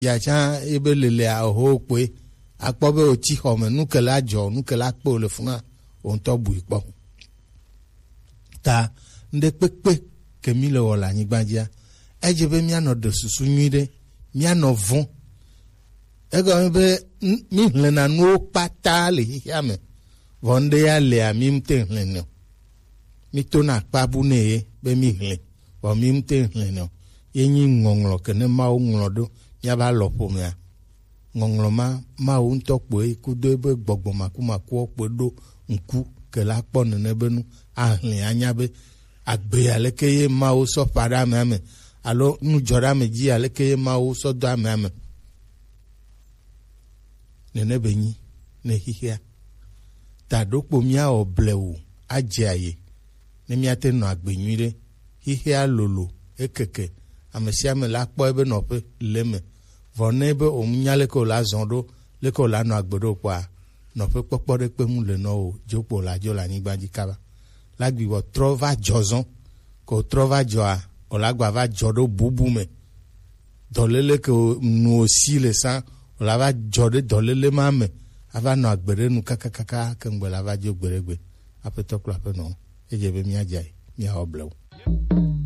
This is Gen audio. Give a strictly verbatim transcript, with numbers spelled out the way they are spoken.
ya tsã ebe lelea oho kpoe. Akpɔ be wotsi xɔ me, nu ke la dzɔ, nu ke la kpe le funa, wo ŋutɔ bui kpɔ. Ta ŋɖe kpekpe ke mi le wɔ le anyigba dzia, edze be míanɔ ɖe susu nyui ɖe, míanɔ vɔ̃. Egɔme be, n- míhlẽna nuwo kpata le xexea me, vɔ ŋɖe ya lea, mi ŋute hlẽ nɛ o. Mítona akpa bu nɛ ye be míhlẽ, vɔ mi ŋute hlẽ nɛ o. Ye nyi ŋɔŋlɔ ke ne Mawu ŋlɔ ɖo míaƒe alɔƒomea. Ŋɔŋlɔ ma, Mawu ŋutɔ kpoe kudo ebe gbɔgbɔ makumakuwo kpoe ɖo ŋku ke la kpɔ nene be nu ahlẽ anya be agbe aleke ye Mawu sɔ ƒã ɖe amea me, alo nu dzɔ ɖe ame dzi aleke ye Mawu sɔ do amea me. Nene be nyi ne xexea. Ta ɖokpo míawɔ blewu adze aye ne míate nɔ agbe nyui ɖe. Xexea lolo, ekeke, ame sia ame la kpɔ ebe nɔƒe le eme. Vɔ ne be omunya leke wòla zɔ ɖo, leke wòla nɔ agbe ɖo kpɔa, nɔƒe kpɔkpɔ ɖe kpe mu le nɔ o, dzokpo la dzo le anyigba dzi kaba. La gbi wɔ trɔ va dzɔ zɔn, ko trɔ va dzɔa, wòla gba va dzɔ ɖo bubu me. Dɔlele ke nu wòsi le sa, wòla va dzɔ ɖe dɔlele ma me, ava nɔ agbe ɖe nu kakakaka, ke ŋgbe la va dzo gbeɖegbe. Aƒetɔ kple aƒenɔ, edze be míadze ayi, míawɔ blewu.